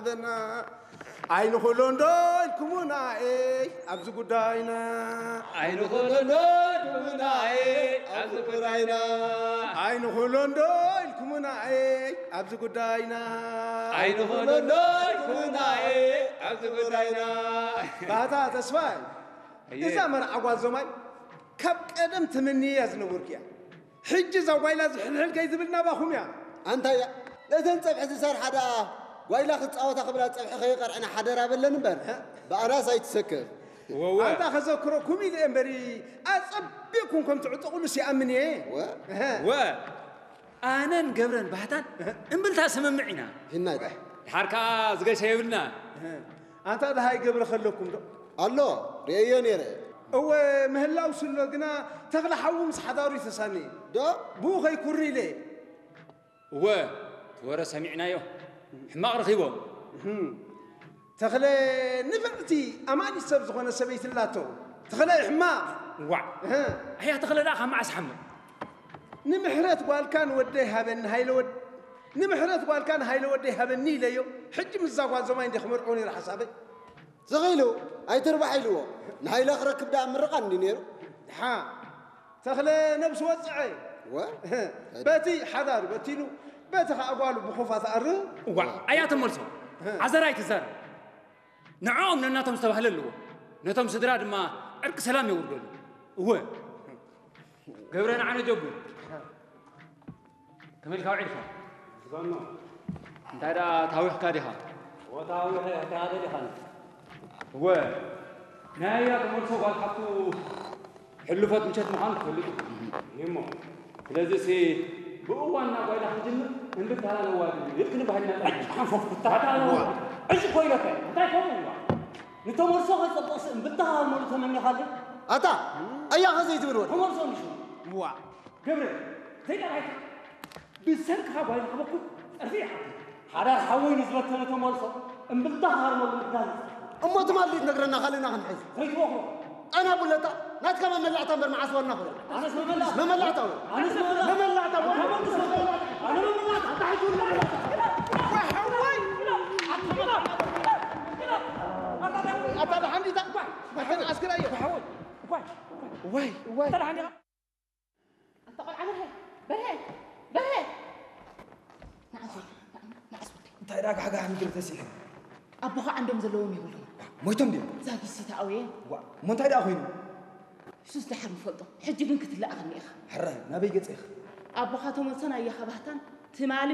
ዘለና ኣይንኽእሎን ዶ ኢልኩምና፣ ኤይ፣ ኣብዚ ጉዳይና። ኣይንኽእሎን ዶ ኢልኩምና፣ ኤይ፣ ኣብዚ ጉዳይና። ኣይንኽእሎን ዶ ኢልኩምና፣ ኤይ፣ ኣብዚ ጉዳይና። ኣይንኽእሎን ዶ ኢልኩምና፣ ኤይ፣ ኣብዚ ጉዳይና። ባታ ተስፋይ፣ እየ። እዛ መርዓ ጓል ዞማይ ካብ ቀደም ትምንያ ዝነበርኩ እያ። ሕጂ እዛ ጓይላ ዝሕልሕል ከይትብል ናባኹም እያ። ኣንታ እያ፣ ነተን ጸብሒ ዝሰርሓ ደኣ ጓይላ ክጻወታ ክብላ ጸብሒ ከይቐርዕና ሓደራ በለን እምበር፣ እ? ብኣናስ ኣይትሰክፍ። ወወ። ኣንታ ከዘክረኩም ኢለ እምበሪ፣ ኣጸቢቕኩም ከም ትዕጠቑሉስ ይኣምን እየ። ወ? እህ። ወ። ኣነን ገብረን ባህታን እምብልታ ስምምዕ ኢና። ይናዳ። ድሓር ከኣ ዝገሸ የብልና። እህ። ኣንታ ደሃይ ገብረ ከለኩም ዶ? ኣሎ፣ ርእየዮ ነይረ። እወ፣ ምህላው ስሎ ግና ተኽለ ሓዉ ምስ ሓዳሩ ይተሳኒ። ዶ? ብኡ ከይኩሪ ኢለ። እወ፣ እቲ ወረ ሰሚዕናዮ። ሕማቕ ረኺቦ። እህም። ተኽለ ንፍዕቲ ኣማኒት ሰብ ዝኾነ ሰበይቲ ኣላቶ። ተኽለ ሕማቕ። ዋዕ። እህ። ኣያ ተኽለ ደኣ ካብ መዓስ ሓምቕ? ንምሕረት ጓልካ ንወደይ ሃበኒ ሃይለ ወድ-፣ ንምሕረት ጓልካ ንሃይለ ወደይ ሃበኒ ኢለዮ። ሕጂ ምስዛ ጓል ዞማይ እንደ ክመርዖ ነይሩ ሓሳበይ። ዝኽኢሉ ኣይትርባሕ ኢልዎ። ንሃይለ ክረክብ ደኣ ምርቓ እንዲ ነይሩ። ድሓ ተኽለ ነብሱ ወጽዐ። ወ? በቲ ሓዳሩ በቲኑ፣ በቲ ኸኣ ጓሉ ብኹፋ ተኣርህ። እዋ፣ ኣያ ተመልሶ። እ። ዓዘራ ኣይትዛረብ። ንዕኦም ነናቶም ዝተባህለ ኣለዎ። ነቶም ስድራ ድማ ዕርቂ ሰላም የውርደሉ። እወ። ገብረ ንዓነ ጀቡ። ከመይ ኢልካ ውዒልካ? ዝባኖ። እንታይ ደኣ ታዊኽካ ዲኻ? ወታዊኸ፣ ወታደ ዲኻን? እወ። ናይ ኣያ ተመልሶ ጓል ሓፍቱ ሕሉፈት ምሸት ምዃኑ ትፈልጥ ኢኹም። እሞ። ስለዚሲ ብእዋን ናብ ጓይላ ክንጅምር እምብልታ ኣለዋ ድዩ? ኢልክኒ ባህልና ጠሪሑ። ሓንፎፍ ኩታ። ዕጭ ኮይለከ። እንታይ ከምኡ እዋ? ንተመልሶ ከይጸብቕሲ እምብልታ ሃርመሉ ተመኘኻለይ? ኣታ፣ ኣያ ኸ ዘይትብል ወድ? ተመልሶ ንሹ። እዋ። ገብረ፣ ዘይጠራይካ። ብሰንክኻ ጓይላ ከበኩት ጸርፊ ይሓቱ። ሓዳር ሓወይ ንዝበተነ ተመልሶ እምብልታ ሃርመሉ ምዳል። እሞ ትማሊ ትነግረና ካልእና ክንሕዝ። ዘይትወኽሮ። ኣና ቡለታ፣ ናትካ መመላእታ እምበር መዓስ ዋና ኾነ። ኣነስ መመላእታ። መመላእታ ወይ? ኣነስ መመላእታ። መመላእታ ወይ? ኣነ መመላእታ። ኣታ ሕጂ እውን መመላእታ። ወይ ሓወይ። ኣታ ደሓን ዲታ? ማሕተን ዓስክራ እየ። ሓወይ። ዋይ፣ ዋይ። ኣታ ደሓን ዲኻ? ኣታ ቆልዓ በርሀ፣ በርሀ፣ በርሀ። ንዓስ ወደይ፣ ንዓስ ወደይ። እንታይ ደኣ ጋሕጋሕ ምድሪ ተሲሑ? ኣቦኻ ዓንዶም ዘለዎም የብሉን። ሞይቶም ድዮም? ዛጊት ሲታኣውየ። ዋ፣ እሞ እንታይ ደኣ ኮይኑ? እሱስ ደሓር ንፈልጦ። ሕጂ ግን ክትለኣኸኒ ኢኻ። ሕራይ፣ ናበይ ገጸ ኢኻ? ኣቦኻ ተመልሶን ኣያኻ ባህታን ትማሊ